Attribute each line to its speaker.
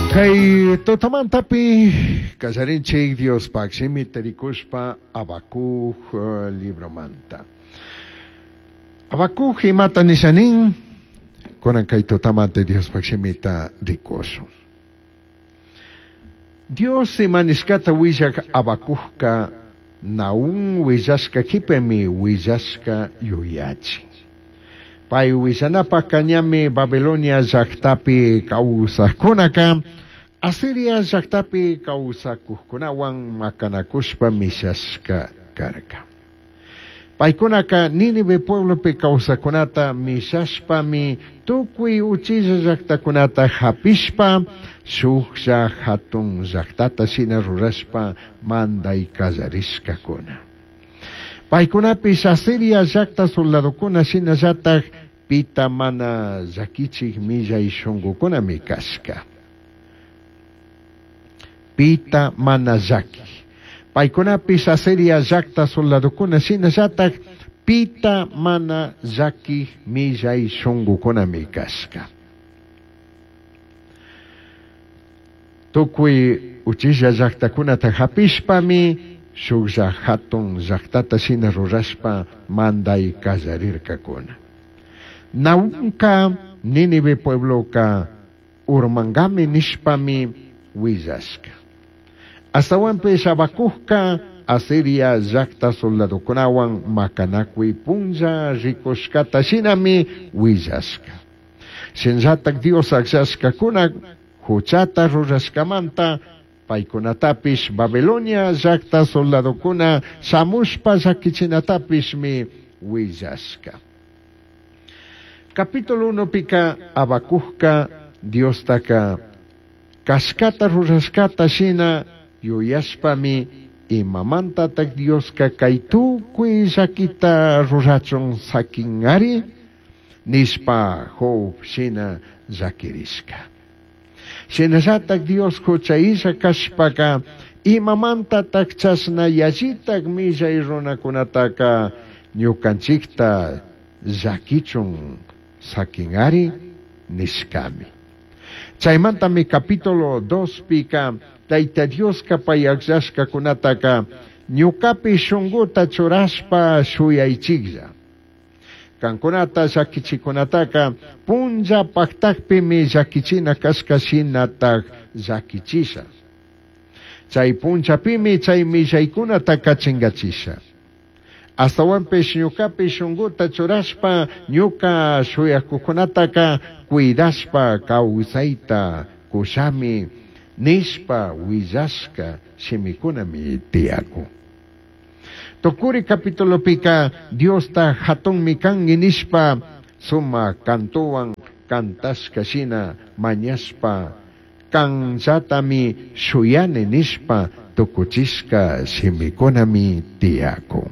Speaker 1: Kay tutamantapi kallarinchik Diospaq shimita rikushpa Habacuc libromanta. Habacuc imata nisha nin? Kunan kay tutamanta Diospaq shimita rikushun. Dios ima nishcata huillaj Habacucca Nahúm huillashca quipami huillashca yuyachin. Pai huillanapajca ñami Babilonia llajtapi causajcunaca Asiria llajtapi causacujcunahuan macanacushpa mishashca carca. Paicunaca Nínive pueblopi causajcunata mishashpami tucui uchilla llajtacunata japishpa shujlla jatun llajtata shina rurashpa mandai callarishcacuna. Paicunapish Asiria llajta soldadocuna shinallataj pita mana llaquichij millai shungucunami cashca. Pita mana llaquij. Paicunapish Asiria llajta soldadocuna shinallataj pita mana llaquij millai shungucunami cashca. Tucui uchilla llajtacunata japishpami shujlla jatun llajtata shina rurashpa mandai callarircacuna. Nahumca Nínive puebloca urmangami nishpami huillashca. Ashtahuanpish Habacucca Asiria llajta soldadocunahuan macanacui punlla ricushcata shinami huillashca. Shinallataj Dios agllashcacuna juchata rurashcamanta paicunatapish Babilonia llajta soldadocuna shamushpa llaquichinatapishmi huillashca. Capítulo 1 pica Habacucca Diostaca cashcata rurashcata shina yuyashpami imamantataj Diosca cai tucui llaquita rurachun saquingari nishpa Job shina llaquirishca. Shinallataj Dios jucha cashpaca imamantataj chashna yallitaj millai runacunataca ñucanchicta llaquichun saquingari nishcami. Chaimantami capítulo 2 pica Taita Diosca pai agllashcacunataca ñucapi shunguta churashpa shuyaichiklla. Cancunata llaquichicunataca punlla pajtajpimi llaquichina cashca shinataj llaquichisha. Chay punllapimi chay millaicunataca chingachisha. Ashtahuanpish ñucapi shunguta churashpa ñuca shuyacujcunataca cuidashpa causaita cushami nishpa huillashca shimicunami tiyacun. Tucuri capitulopica Diosta jatunmi cangui nishpa sumaj cantohuan cantashca shina mañashpa canllatami shuyani nishpa tucuchishca shimicunami tiyacun.